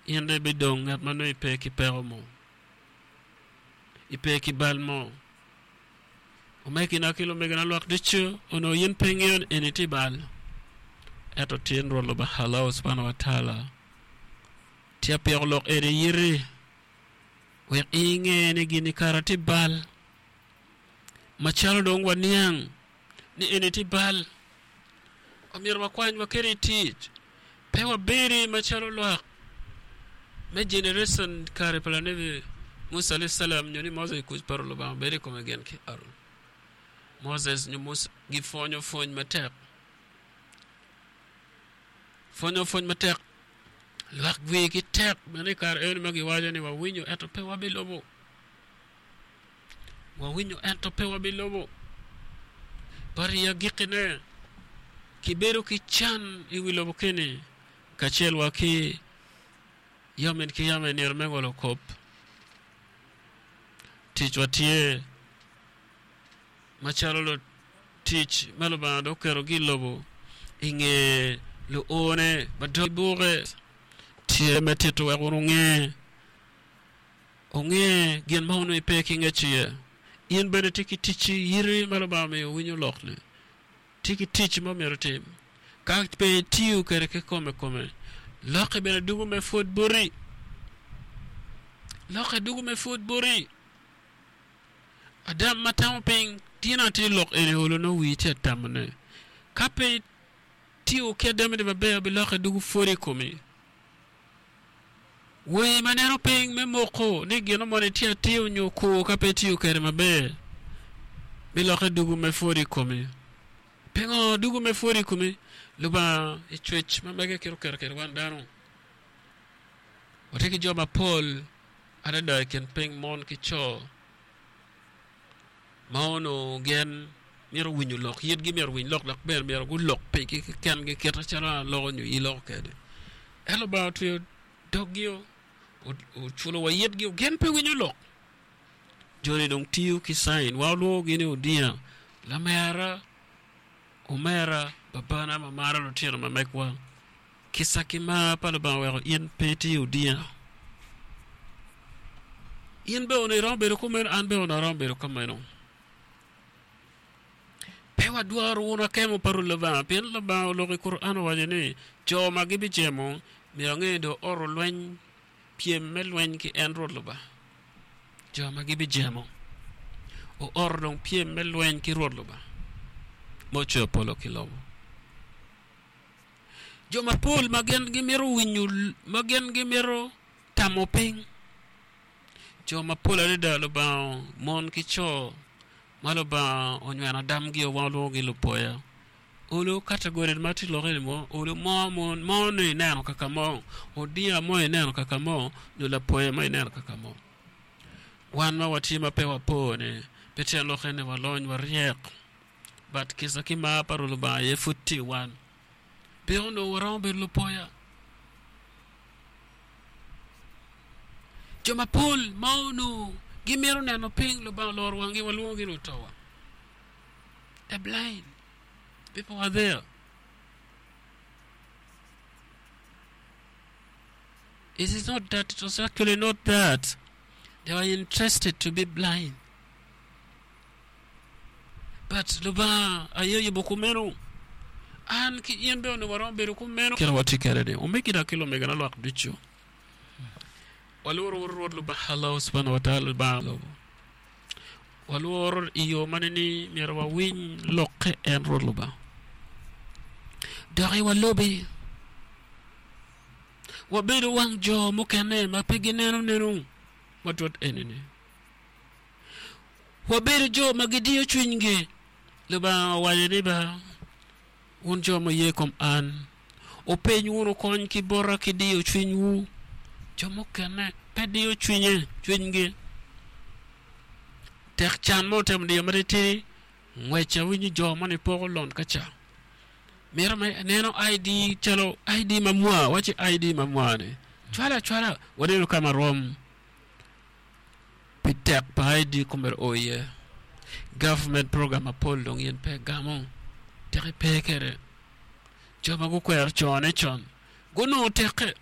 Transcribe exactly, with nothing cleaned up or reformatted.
In dong ibidong ngat ma nongo ipe ki peko mo, ipe ki bal mo. Omegina ki lumegina lwak ducu onongo in pe ingeyo ni eni tye bal. Ento tin Rwot Lubanga Allah subhanahu wa ta'ala tye apiko lok eni yiti wek inge ni gini kara tye bal. Macalo dong waniang ni eni tye bal, omyero wakwany waket i tic. Pe wabedi macalo lwak me generation kare pa lanebi Musa alayhi salam nyo ni Moses kuc pa Lubanga obed i kome gin ki Aron. Moses nyo Musa gipwonyo pwony matek. Pwonyo pwony matek. Lwak wigi tek bene i kare eno ma giwaco ni wawinyo ento pe wabilubo. Wawinyo ento pe wabilubo. But i agikkine kibedo ki can i wi lobo keni kacel wa ki yamin ki yam i nino me ngolo kop. Ticwa tye macalo lutic ma Lubanga dong oketogi i lobo i nge luone ma dong gibuke tye me tito wek wun wunge onge gin ma onongo ipe ki ngec iye. In bene tye ki ticci yiti ma Lubanga omiyo winyo lok-ni. Tye ki tic ma myero itim. Ka pe itiyo kwede kikome kome, lokke bene dugo me pwod boti. Lokke dugo me pwod boti. Adam ma tamo piny tin atir lok eni olo nongo wii tye atamone. Ka pe itiyo ki adamini maber bilokke dugo pwod i komi. Wer ma neno piny me moko ni gin moni tye atir nyo kur ka pe itiyo kwede maber bilokke dugo me pwod i komi. Pingo dugo me pwod i komi? Lubanga i cwec ma mege kit oketo kwede wan dano. Watye ki jo mapol adada i kin piny mon ki co ma onongo gin myero winyo lok, yitgi myero owiny lok dok bene myero gulok pigi kekengi kit macalo an aloko nyo in iloko kwede. Ento Lubanga otweyo doggi oculo wa yitgi gin pe winyo lok. Joni dong tiyo ki cain wa olwongogi ni odinga lamera, omera, babana ma maro lutino ma megwa. Kica ki mar pa Lubanga oweko in pe itye odinga. In bene onongo iromo bedo kumeno, an bene onongo aromo bedo kumeno. Pe wadwaro wun akemo pa Rwot Lubanga, pien Lubanga oloko i Kuran owaco ni, Jo ma gibijemo myero ange dong oro lweny, pyem me lweny ki en Rwot Lubanga. Jo ma gibijemo ooro dong pyem me lweny ki Rwot Lubanga ma ocweyo polo ki lobo. Jo mapol ma gin gimito winyo, ma gin gimito tamo piny, jo mapol adada Lubanga mon ki co ma Lubanga onyweno adamgi wan walwongogi lupoya. Olo kategori ma tye lokke ni mo, olo mo mo mo ni ineno kaka mo, odinga mo ineno kaka mo, nyo lapoya mo ineno kaka mo. Wan ma watye ma pe wapo ni pe tyen lokke ni walony waryek, but kica ki mar pa Rwot Lubanga aye pud tye i wan. Pe onongo waromo bedo lupoya. Jo mapol ma onongo gimito neno piny Lubanga oloro wanggi walwongogi ni otowa. They're blind. People are there. It is not that, it was actually not that. They were interested to be blind. But Lubanga aye oyubo kumeno. An ki in bene onongo waromo bedo kumeno. Kit ma watye kwede-ni, omegina ki lumegina lwak ducu, walworo Rwot Lubanga Allah subhanahu wa ta'ala Lubanga lobo. Walworo i yo ma nining myero wawiny lokke en Rwot Lubanga? Doki walubi. Wabedo wang jo mukene ma pe gineno neno matut eni-ni. Wabedo jo ma gidiyo cwinygi. Lubanga owaco ni, Ba, wun jo ma ye i kom an, wupeny wunu kony ki bota ki diyo cwinywu. Jo mukene pe diyo cwinye, cwinygi. Tek can mo otemo diyo matitidi, ngwec awinyo jo moni poko lon ka ca. Mito me neno I D calo I D mamwa, waci I D mamwa-ni. Cwalo acwala, waneno ka ma rom pi tek pa I D komere o iye. Government program mapol dong in pe gamo, tek ipe kwede. Jo ma gukwero cone con gunongo tekke.